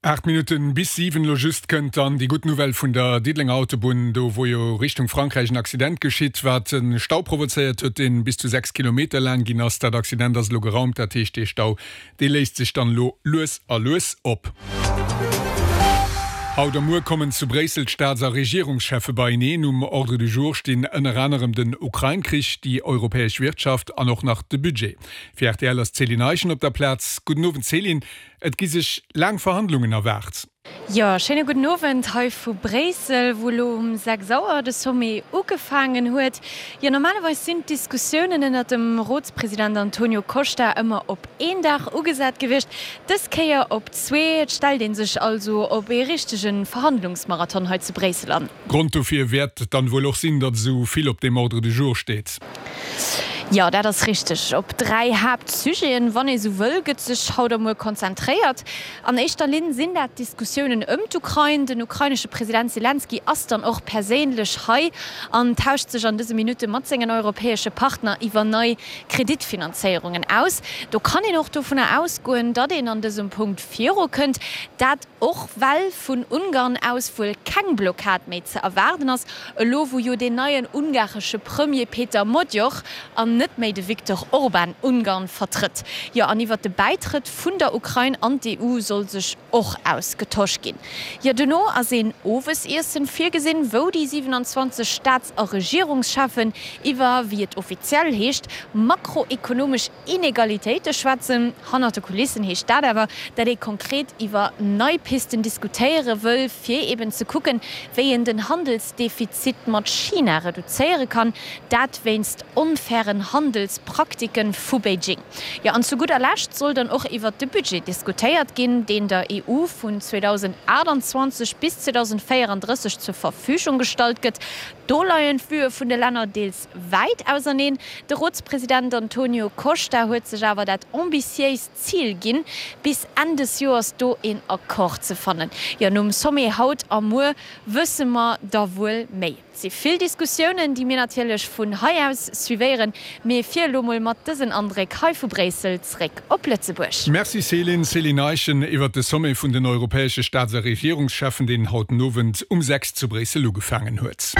8 Minutten bis 7, elo just kënnt dann déi gutt Nouvelle vun der Diddelenger Autobunn, do wou jo Richtung Frankräich en Accident geschitt, wat e Stau provozéiert huet, deen bis zu 6 Kilometer laang ginn ass. Dat Accident ass elo geraumt, dat heescht dee Stau, dee léist sech dann elo lues a lues op. Haut a muer kommen zu Bréissel d'Staats a Regierungscheffe beieneen. Um Ordre du jour stinn ënner anerem den Ukrain-Krich, déi europäesch Wirtschaft an och nach de Budget. Fir rtl ass d'Céline Eischen op der Plaz. Gudden Owend Céline. Et gi sech laang Verhandlungen erwaart. Jo, schéine gudden Owend hei vu Bréissel, wou elo um 6 Auer de Sommet ugefaangen huet. Jo, normalerweis sinn d'Diskussiounen ënnert dem Rotspresident Antonio Costa ëmmer op een Dag ugesat gewiescht, dës Kéier op zwee. Et stellt ee sech also op ee richtege Verhandlungsmarathon hei zu Bréissel an. Grond dofir wäert dann wuel och sinn, datt esou vill op dem Ordre du jour steet. Jo, dat ass richteg. Op 3 Haaptsujeten, wann ee sou wëll, gëtt sech haut a muer konzentréiert. An éischter Linn sinn dat d'Diskussiounen ëm d'Ukrain. Den ukrainesche President Selenskyj ass dann och perséinlech hei an tauscht sech an dëse Minutte mat sengen europäesche Partner iwwer nei Kreditfinanzéierungen aus. Do kann een och dovunner ausgoen, datt een an dësem Punkt virukënnt. Dat Och well vun Ungarn aus wuel keng Blockad méi ze erwaarden ass, elo wou jo deen neien ungaresche Premier Peter Magyar an net méi de Viktor Orban Ungarn vertrëtt. Jo, an iwwert de Bäitrëtt vun der Ukrain an d'EU soll sech och ausgetosch ginn. Jo, dono ass een Owesiessen virgesinn, wou déi 27 Staats a Regierungscheffen iwwer, wéi et offiziell heescht, makroekonomesch Inegalitéite schwätzen. Hannert de Kulissen heescht dat awer, dat ee konkret iwwer nei Pisten diskutéiere wëll, fir eben ze kucken, wéi een den Handelsdefizit mat China reduzéiere kann, dat wéinst onfairen Handelspraktike vu Beijing. Jo, an zu gudder Lescht soll dann och iwwert de Budget diskutéiert ginn, deen der EU vun 2028 bis 2034 zur Verfügung gestallt gëtt. Do leien d'Vuë vun de Länner deels wäit auserneen. De Rotspresident Antonio Costa huet sech awer dat ambitiéist Zil ginn, bis Enn des Joers do een Accord ze fannen. Jo, nom Sommet haut a muer wësse mer da wuel méi. Et si vill Diskussiounen, déi mir natierlech vun hei aus suivéieren. Mee fir elo mol mat dësen Andréck hei vu Bréissel zeréck op Lëtzebuerg. Merci Céline. Céline Eischen iwwert de Sommet vun den europäesche Staats a Regierungscheffen, deen haut den Owend um 6 zu Bréissel ugefaangen huet.